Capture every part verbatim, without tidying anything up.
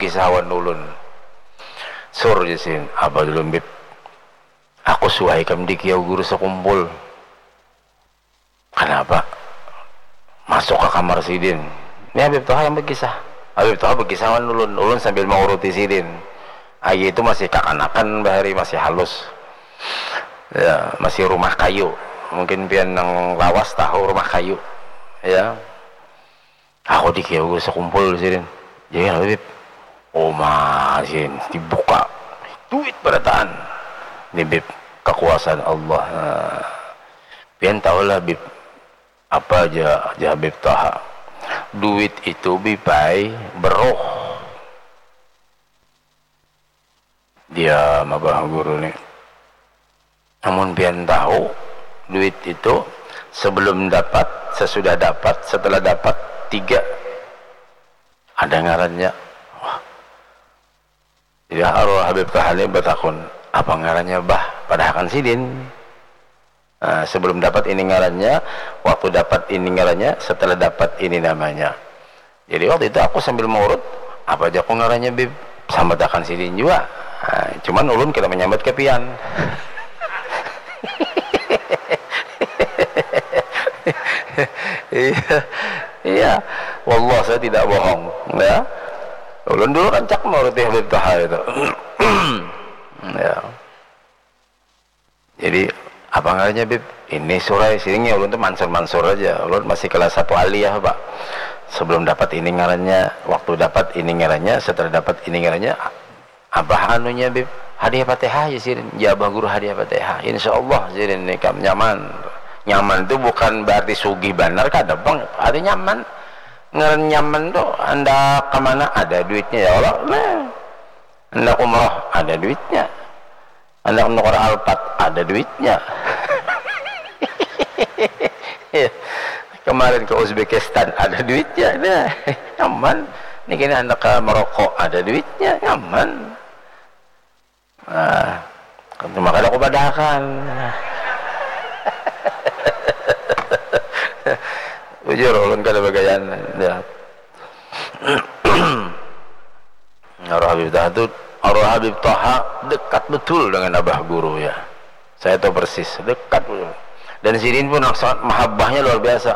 kisah wan ulun. Sur, jar sidin. Apa dulu, Bib? Aku suah ikam dikiau guru sakumpul. Kanapa? Masuk ka kamar sidin. Ni Habib Toha yang bakisah. Habib Toha bakisah wan ulun. Ulun sambil manguruti sidin. Ayi itu masih kakanakan bahari, masih halus. Ya, masih rumah kayu. Mungkin pian nang lawas tahu rumah kayu. Ya. Aku dikiau guru sakumpul sidin. Jadi kenapa, Bib? Uma, sidin, dibuka. Duit barataan. Ni, Bib, kakuasaan Allah. Nah, pian tahulah, Bib, apa aja, aja Habib Toha. Duit itu, Bib ai, beruh. Dia mabah guru ni. Namun pian tahu, duit itu sebelum dapat, sesudah dapat, setelah dapat, tiga ada ngarannya. Wah. Jadi arwah Habib Toha ni batakun, apa ngarannya, Bah? Padahakan sidin. Nah, sebelum dapat ini ngarannya, waktu dapat ini ngarannya, setelah dapat ini namanya. Jadi waktu itu aku sambil mengurut, apa aja aku ngarannya, Bib? Sambatakan sidin jua. Nah, cuman ulun kada menyambat ke pian. Iya, iya. Wallah, saya tidak bohong, ya. Ulun dulu rancak mauruti Habib Toha itu. Ya. Jadi, apa ngarannya, Bib? Ini surai, sini, ulun tuh mansur-mansur aja. Ulun masih kelas satu aliyah, Pak. Sebelum dapat ini ngarannya, waktu dapat ini ngarannya, setelah dapat ini ngarannya, apa anunya, Bib? Hadiah Fatihah aja sih, ya, Abah Guru, hadiah Fatihah. Insya Allah, jadi nikam nyaman. Nyaman tuh bukan berarti sugih banar, kada, Bang. Ada nyaman. Ngaran nyaman tuh, anda kemana ada duitnya, ya Allah. Nah, anda umroh, ada duitnya. Anak nukar Alphard, ada duitnya. Iya. Kemarin ke Uzbekistan, ada duitnya. Nah, nyaman. Ini kini anak ke Maroko, ada duitnya, nyaman. Nah, cuma kada aku padahakan. Bujur, ulun kada bagayaan. Ya. Arwah Habib Toha tu, arwah Habib Toha dekat betul dengan Abah Guru, ya. Saya tahu persis, dekat betul. Dan sidin pun sangat mahabbahnya luar biasa.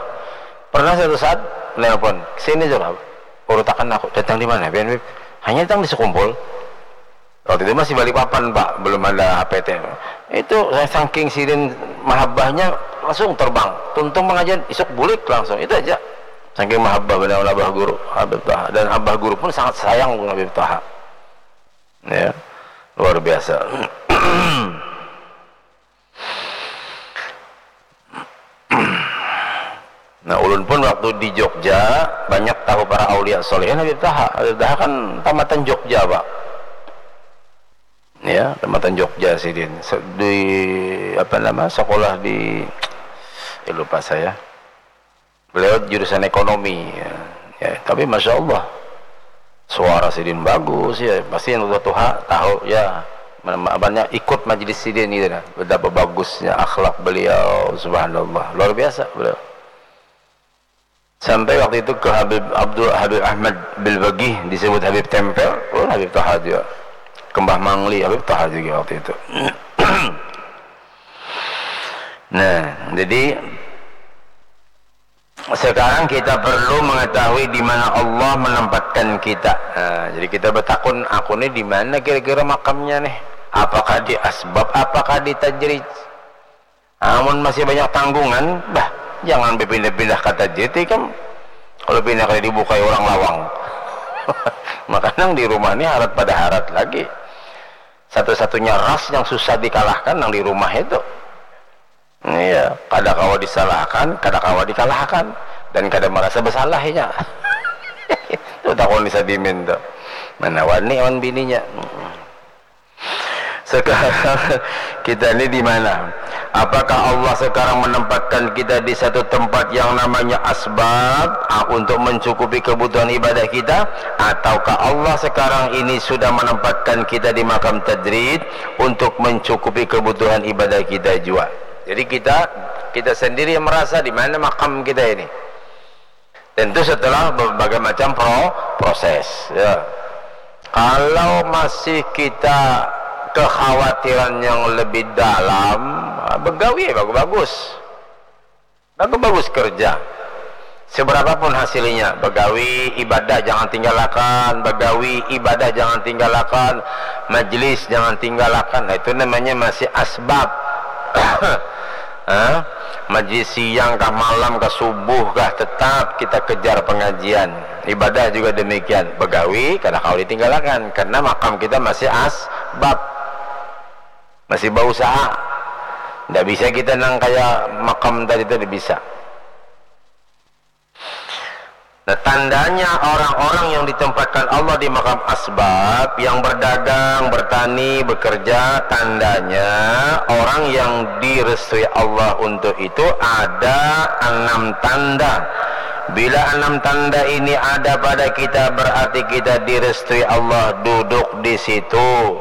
Pernah satu saat nelpon, "Sini, Jur, urutakan aku." "Datang di mana, Pian, Bib?" "Hanya datang di Sekumpul." Waktu itu masih Balikpapan, Pak, belum ada H P T. Itu saking sidin mahabbahnya, langsung terbang. Tuntung pengajian, isuk bulik langsung. Itu aja. Saking mahabbah benar Abah Guru, Habib Toha. Dan Abah Guru pun sangat sayang dengan Habib Toha. Ya, luar biasa. Nah, ulun pun waktu di Jogja banyak tahu para aulia solehin Habib Toha. Habib Toha kan tamatan Jogja, Pak. Ya, tamatan Jogja sidin. Se-, di, apa nama, sekolah di, eh, lupa saya. Beliau jurusan ekonomi, ya. Ya, tapi masya Allah, suara sidin bagus, ya. Pasti yang tuha-tuha tahu, ya. Mana, apanya, ikut majelis sidin gitu, nah. Betapa bagusnya akhlak beliau, subhanallah, luar biasa beliau. Sampai waktu itu ke Habib Abdul, Habib Ahmad Bilbagih, disebut Habib Tempel, oh, Habib Toha juga. Ke Mbah Mangli, Habib Toha juga waktu itu. Nah, jadi sekarang kita perlu mengetahui di mana Allah menempatkan kita. Nah, jadi kita bertakun, "Aku nih di mana kira-kira makamnya nih? Apakah di asbab, apakah di tajrid?" Amun masih banyak tanggungan, bah, jangan berpindah-pindah ka tajrid ikam. Kalau pindah kali dibukai orang lawang. Maka nang di rumah ni harat pada harat lagi. Satu-satunya ras yang susah dikalahkan nang di rumah itu. Iya, kada kawa disalahkan, kada kawa dikalahkan, dan kada merasa bersalah inya. Tuh takun di Sadimin tuh. Mana wani awan bininya. Sekarang kita ini di mana? Apakah Allah sekarang menempatkan kita di satu tempat yang namanya asbab, ah, untuk mencukupi kebutuhan ibadah kita? Ataukah Allah sekarang ini sudah menempatkan kita di makam tajrid untuk mencukupi kebutuhan ibadah kita juga? Jadi kita, kita sendiri yang merasa di mana makam kita ini. Tentu setelah berbagai macam pro-, proses, ya. Kalau masih kita kekhawatiran yang lebih dalam, begawi bagus-bagus. Bagus-bagus kerja. Seberapa pun hasilnya, begawi ibadah jangan tinggalakan, begawi ibadah jangan tinggalakan, majlis jangan tinggalakan. Nah, itu namanya masih asbab. Hah? Majlis siang kah, malam kah, subuh kah, tetap kita kejar pengajian. Ibadah juga demikian. Begawi kada kawa ditinggalakan karena makam kita masih asbab. Masih bausaha. Ndak bisa kita nang kaya makam tadi tu, ndak bisa. Nah, tandanya orang-orang yang ditempatkan Allah di makam asbab, yang berdagang, bertani, bekerja, tandanya orang yang direstui Allah untuk itu ada enam tanda. Bila enam tanda ini ada pada kita, berarti kita direstui Allah duduk di situ.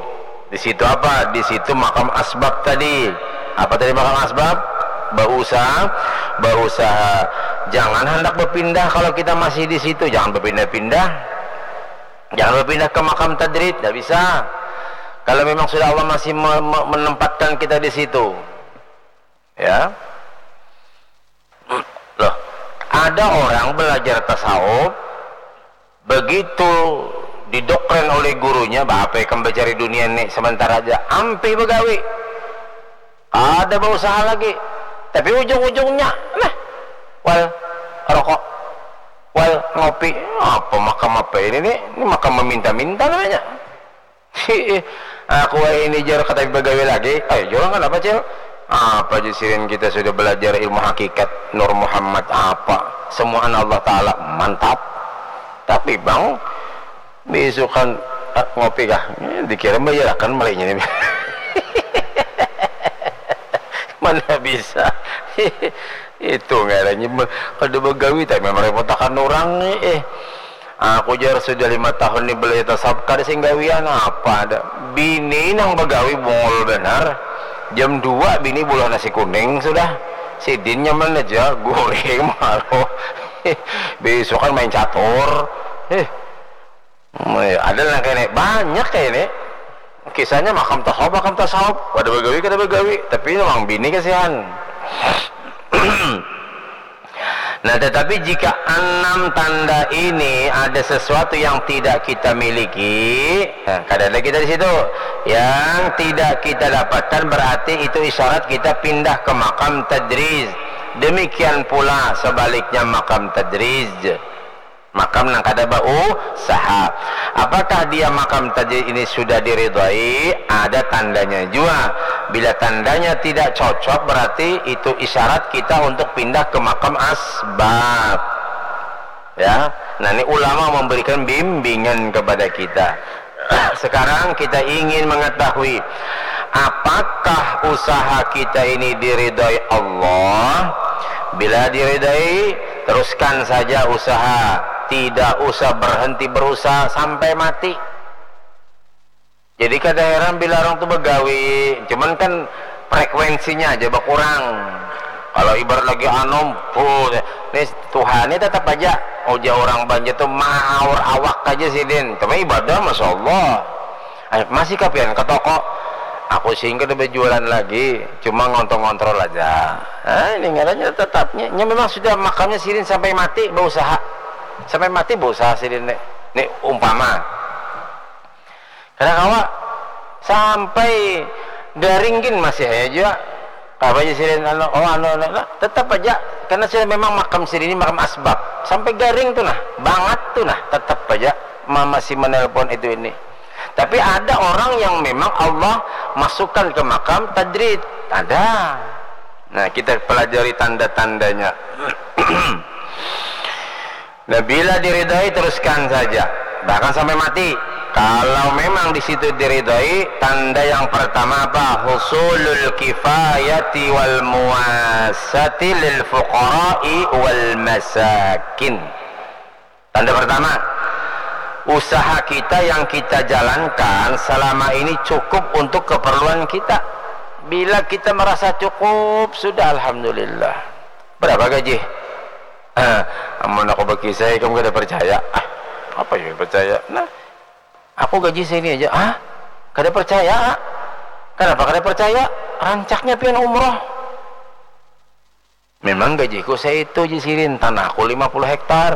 Di situ apa? Di situ makam asbab tadi. Apa tadi makam asbab? Bausaha, bausaha. Jangan hendak berpindah kalau kita masih di situ. Jangan berpindah-pindah. Jangan berpindah ke makam tadrid, tidak bisa. Kalau memang sudah Allah masih me- me- menempatkan kita di situ, ya. Loh, ada orang belajar tasawuf, begitu didokren oleh gurunya, "Bapak ikam bacari dunia ni sementara aja, ampih begawi, ada bausaha lagi." Tapi ujung-ujungnya, nah, wal rokok, wal ngopi. Apa makam apa ini nih? Ini makam meminta-minta namanya. Aku ini, jar, katapi bagawi lagi. Ayo, jua, kenapa, Cil? Apa, jar sidin, kita sudah belajar ilmu hakikat Nur Muhammad apa? Semua anak Allah Ta'ala. Mantap. Tapi, Bang, beisukan, eh, ngopi kah? Eh, dikira bayarakan malainya nih. Mana bisa. Itu ngarannya be- kada bagawi, tapi merepotakan orang nih. Eh, aku, jar, sudah lima tahun ni belajar tasawuf, kada sing gawian apa ada. Bini nang bagawi bungul banar. Jam dua bini bulah nasi kuning sudah. Sidin nyaman aja, guring malu. Beisukan main catur. Eh, ada lah kayak ini, banyak kayak ini. Kisahnya makam tasawuf, makam tasawuf. Kada bagawi, kada bagawi. Tapi ini orang bini kasihan. Nah, tetapi jika enam tanda ini ada sesuatu yang tidak kita miliki, nah, kada ada kita di situ. Yang tidak kita dapatkan berarti itu isyarat kita pindah ke makam tadrij. Demikian pula sebaliknya makam tadrij. Makam nang kada bausaha. Apakah dia makam tadi ini sudah diridhoi? Ada tandanya jua. Bila tandanya tidak cocok, berarti itu isyarat kita untuk pindah ke makam asbab. Ya, nah, ini ulama memberikan bimbingan kepada kita. Sekarang kita ingin mengetahui, apakah usaha kita ini diridhoi Allah? Bila diridhoi, teruskan saja usaha. Tidak usah berhenti berusaha sampai mati. Jadi kada heran bila orang tu bagawi, cuman kan frekuensinya aja bakurang. Kalau ibarat lagi anu, puh, nih Tuhan ni tetap aja, ujar orang Banjar tu mahaur awak aja sidin. Cuma ibadah, masya Allah. Eh, masih kapian ke toko? Aku sing kada berjualan lagi, cuma ngontrol-ngontrol aja. Ah, ini ngarannya tetapnya. Nya memang sudah makamnya sidin sampai mati berusaha. Sampai mati berusaha sidin ni. Ni umpama. Kada kawa. Sampai garing gin masih aja jua. Apa aja sidin anu, oh, anu, anu, anu, tetap aja. Karena sidin memang makam sidin ini makam asbab. Sampai garing tu nah, bangat tu nah, tetap aja ma- masih menelpon itu ini. Tapi ada orang yang memang Allah masukkan ke makam tadrid. Ada. Nah, kita pelajari tanda-tandanya. Nah, bila diridhoi, teruskan saja, bahkan sampai mati. Kalau memang di situ diridhoi, tanda yang pertama apa? Husulul kifayati wal muwasati lil fuqara'i wal masakin. Tanda pertama, usaha kita yang kita jalankan selama ini cukup untuk keperluan kita. Bila kita merasa cukup, sudah, alhamdulillah. Berapa gaji? Eh, amun aku bakisah, kamu kada percaya. Ah, apa yang percaya? Nah, Aku gaji saini aja. Ah, kada percaya, A. Kenapa kada percaya? Rancaknya pian umroh. Memang gajiku saitu, ji sidin, tanahku lima puluh hektar.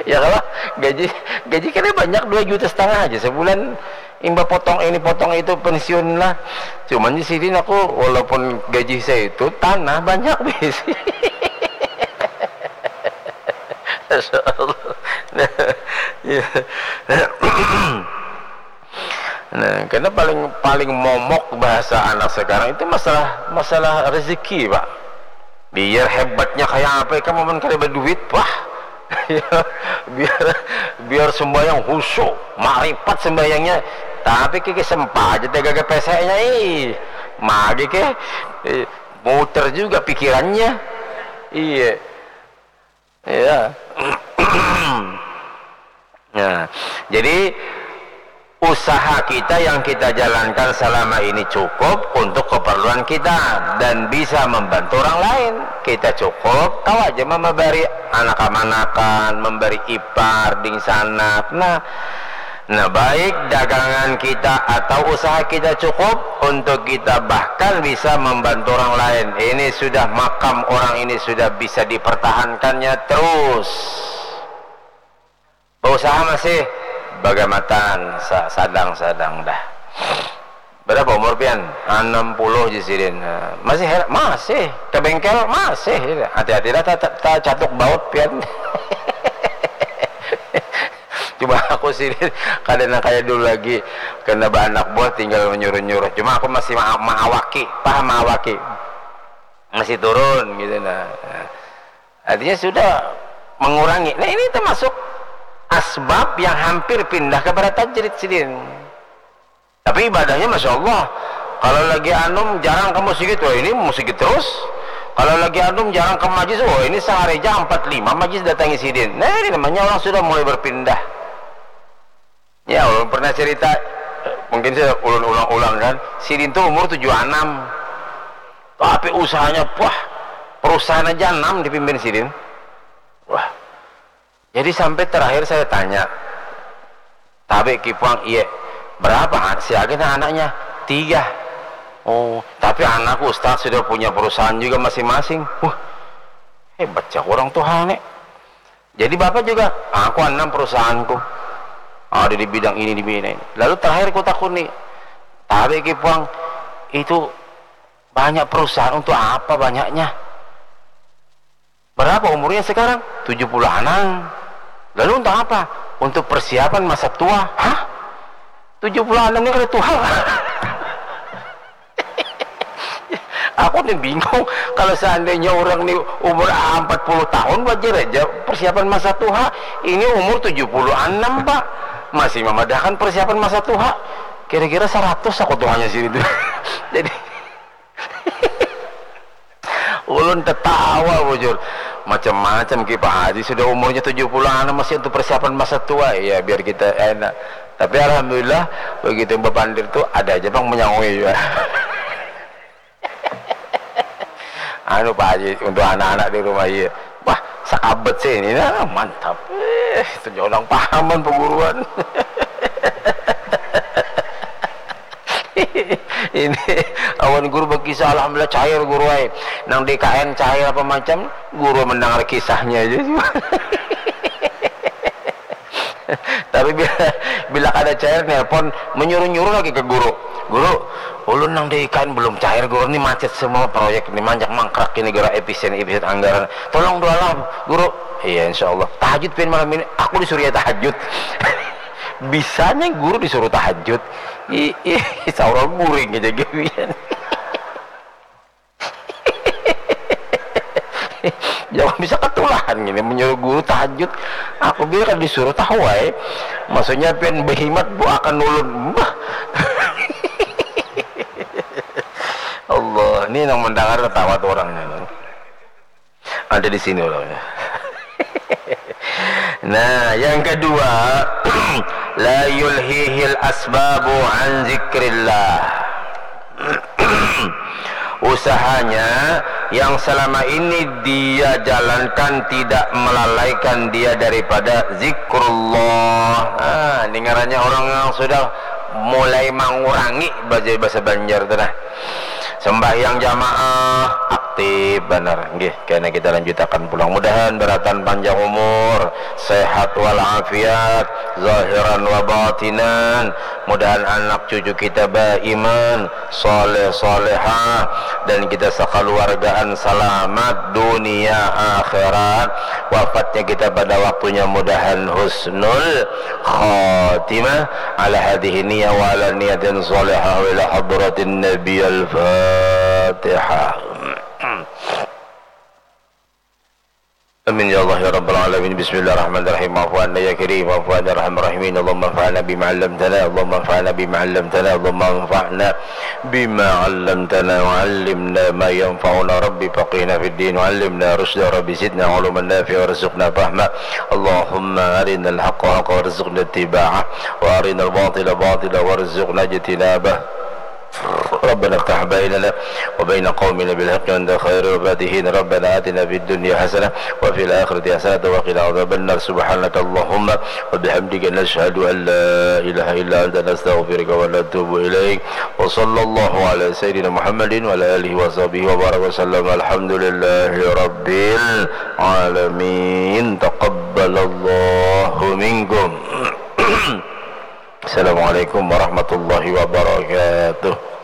Ya kalau gaji, gaji kada banyak, dua juta setengah aja sebulan, imbah potong ini potong itu pensiun lah. Cuman, ji sidin, aku walaupun gaji saitu, tanah banyak bisi. Masya Allah. Nah, ya. Nah, karena paling, paling momok bahasa anak sekarang itu masalah, masalah rezeki, Pak. Biar hebatnya kayak apa, kamu mun kada berduit, wah. Ya, biar, biar sembahyang khusyuk, makrifat sembahyangnya, tapi kiki sempat aja tega ke pesenya, ih. Magi ke, eh, muter juga pikirannya. Iya. Ya. Nah, jadi usaha kita yang kita jalankan selama ini cukup untuk keperluan kita dan bisa membantu orang lain. Kita cukup tahu aja memberi anak kamanakan, memberi ipar, dingsanak. Nah, nah, baik dagangan kita atau usaha kita cukup untuk kita bahkan bisa membantu orang lain. Ini sudah makam orang ini sudah bisa dipertahankannya terus. Bausaha masih bagamatan, sa-, sadang-sadang dah. Berapa umur pian? Enam puluh, ji sidin. Nah, masih her-, masih ke bengkel masih. Hati-hati dah, ta-, ta-, tacatuk baut pian. Cuma aku sidin kada nang kaya dulu lagi, kena baanak buah tinggal menyuruh-nyuruh. Cuma aku masih ma-, maawaki, paham maawaki. Masih turun gitu nah. Artinya sudah mengurangi. Nah, ini termasuk asbab yang hampir pindah kepada tajrid sidin. Tapi ibadahnya masya Allah. Kalau lagi anum jarang ke masjid, wah ini masjid terus. Kalau lagi anum jarang ke majlis, wah ini sehari aja empat lima majlis datangi sidin. Nah, ini namanya orang sudah mulai berpindah. Ya, ulun pernah cerita, mungkin saya ulun ulang-ulang kan. Sidin tuh umur tujuh enam. Tapi usahanya, wah, perusahaan aja enam dipimpin sidin. Wah. Jadi sampai terakhir saya tanya, "Tabe Kipuang, iya, berapa an-, si Agen anaknya?" "Tiga." "Oh, tapi anakku Ustaz sudah punya perusahaan juga masing-masing." Wah, hebat ya orang tuh, Nek. Jadi bapak juga, "Aku enam perusahaanku. Ada di bidang ini, di bidang ini." Lalu terakhir ku takuni, "Tabe Kipuang, itu banyak perusahaan untuk apa banyaknya?" "Berapa umurnya sekarang?" "Tujuh puluh enam." "Lalu untuk apa?" "Untuk persiapan masa tua." "Hah? Tujuh puluh enam ini kada tua?" Aku nih bingung, kalau seandainya orang nih umur empat puluh tahun wajar aja persiapan masa tua, ini umur tujuh puluh enam, Pak, masih memadahkan persiapan masa tua. Kira-kira seratus aku tuanya sini tuh. Jadi, ulun tertawa bujur. Macam-macam Ki Pak Haji sudah umurnya tujuh puluhan masih untuk persiapan masa tua. Ya, biar kita enak. Tapi alhamdulillah, begitu bapandir tuh ada aja bang menyaui juga. Anu Pak Haji, untuk anak-anak di rumah, iya. Wah, sakabet sih ini, nah, mantap. Eh, itu orang pahaman perguruan. Ini awan guru berkisah, alhamdulillah cair guru ai. Nang D K N cair apa macam, guru mendengar kisahnya aja. Tapi bila, bila kada cair, nelpon, menyuruh-nyuruh lagi ke guru. "Guru, ulun nang di I K N belum cair, guru, ni macet semua proyek ni, manjak mangkrak ini, gara efisien, efisien anggaran. Tolong doalah, guru." "Iya, insya Allah." "Tahajud pian malam ini?" "Aku disuruh ya tahajud." Bisanya guru disuruh tahajud. Ih, ih, saurang guring aja gawian. Jangan bisa ketulahan gini menyuruh guru tahajud. Aku biar kan disuruh tahu ai. Maksudnya pian behimat bu akan ulun. Bah. Allah, ini yang mendengar ketawa tuh orangnya. Ada di sini orangnya. Nah, yang kedua, la yulhihil asbabu an zikrillah. Usahanya yang selama ini dia jalankan tidak melalaikan dia daripada zikrullah. Nah, ini ngarannya orang yang sudah mulai mengurangi bajai bahasa Banjar tu nah. Sembahyang jamaah aktif banar. Nggih, kena kita lanjutakan pulang. Mudahan beratan panjang umur, sehat walafiat, zahiran wa batinan. Mudahan anak cucu kita baiman, soleh solehah, dan kita sakaluargaan salamat dunia akhirat. Wafatnya kita pada waktunya mudahan husnul khatimah. Ala hadhihi niyah wa ala niyatin salihah wa ila hadratin nabi. Al-Fatihah. Amin ya Allah ya rabbal alamin. Bismillahirrahmanirrahim. Afu anna ya karim, afu anna arhamar rahimin. Allahumma anfa'na bima 'allamtana, Allahumma anfa'na bima 'allamtana, Allahumma anfa'na bima 'allamtana wa 'allimna ma yanfa'una. Rabbi faqihna fid din wa 'allimna rusyda. Rabbi zidna 'ilman nafi'a warzuqna fahma. Allahumma arinal haqqa haqqa warzuqna ittiba'ah wa arinal batila batila warzuqna ijtinabah. ربنا افتح بيننا وبين قومنا بالحق وأنت خير الفاتحين. ربنا آتنا في الدنيا حسنة وفي الآخرة حسنة وقنا عذاب النار. سبحانك اللهم وبحمدك، نشهد أن لا إله إلا أنت، نستغفرك ونتوب إليك. وصلى الله على سيدنا محمد وعلى آله وصحبه وبارك وسلم. الحمد لله رب العالمين. تقبل الله منكم. Assalamualaikum warahmatullahi wabarakatuh.